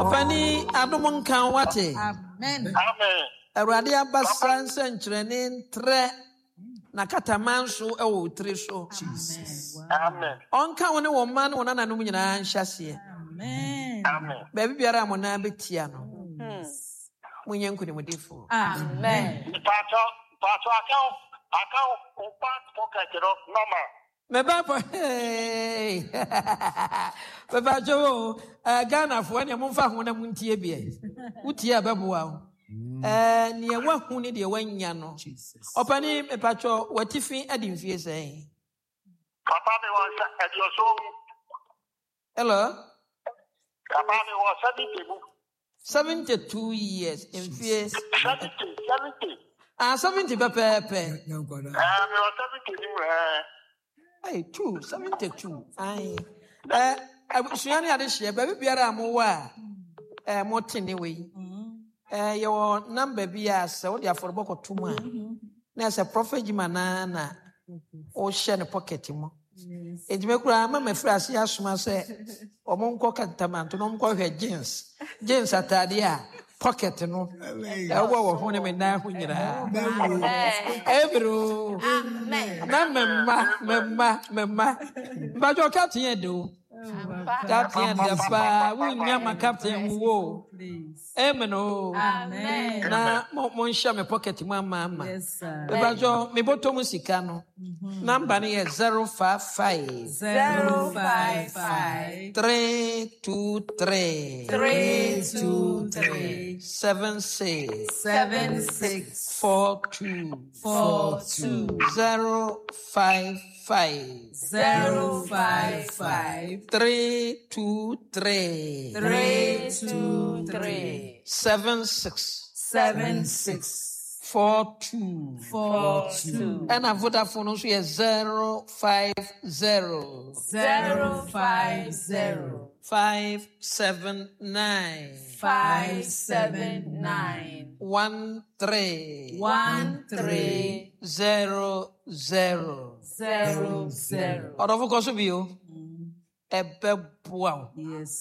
Ɔpani adom nka wo wate. Amen. Amen. Awurade abasa nsɛnkyerɛnne ntrɛ na kataman so wɔ wo tiri so. Jesus. Amen. Ɔnka wo ne wɔn mma ne wɔn nananom nyinaa nhyɛ aseɛ. Amen. Amen. Baabi biara a mo nan bɛtia no, monyɛ nkonimdifoɔ. Amen. Mpatsɔ, mpatsɔ aka aka wo back pocket no normal. Me ba pɔ hey. Mepakyɛ wo eh, Ghanafoɔ neɛ momfa ho na montie biɛ. Wotie a ɛbɛboa wo. Eh, neɛ woahu ne deɛ woanya no. Ɔpani mepakyɛ watifi adi mfie sɛn? Papa mi wɔ nsa aduoson mu. Hello? Papa mi wɔ 70 mu. 72 years mfie. 70, 70. Ah, 70 pɛpɛɛpɛ. Eh, mi wɔ 70 ni mu eh. Hey, two, 72. Aye. Eh, abusua ne adehyeɛ baabi biara a mowɔ a eh, mote ne wei. Eh, yɛwɔ namba bi a sɛ wode afɔrebɔ kɔto mu a na ɛsɛ Prophet Jima naa na wohyɛ ne pocket mu. Enti me koraa ma mafiri ase asoma sɛ wɔn nkɔ kantamanto na wɔn nkɔhwɛ jeans jeans ataade a pocket no ɛwɔ wɔ ho ne me nan ho nyinaa. Ebiro na me mma me mma me mma mbadwo captain yɛ de o captain yɛ de paa wunya ma captain wuwo o. Amen o. Na mo mo nhyɛ me pocket mu ama ama. Mebajɔ me bɔtɔ mu sika no. Mm-hmm. Number no yɛ 055 055 323 323 76 76 42 42 055 055 323 323 76 76 42 42. Ɛna Vodafone no nso yɛ 050 050 579 579 13 13 00. 00. Ɔdɔfo kɔ so bio. Ɛbɛboa wo. Yes.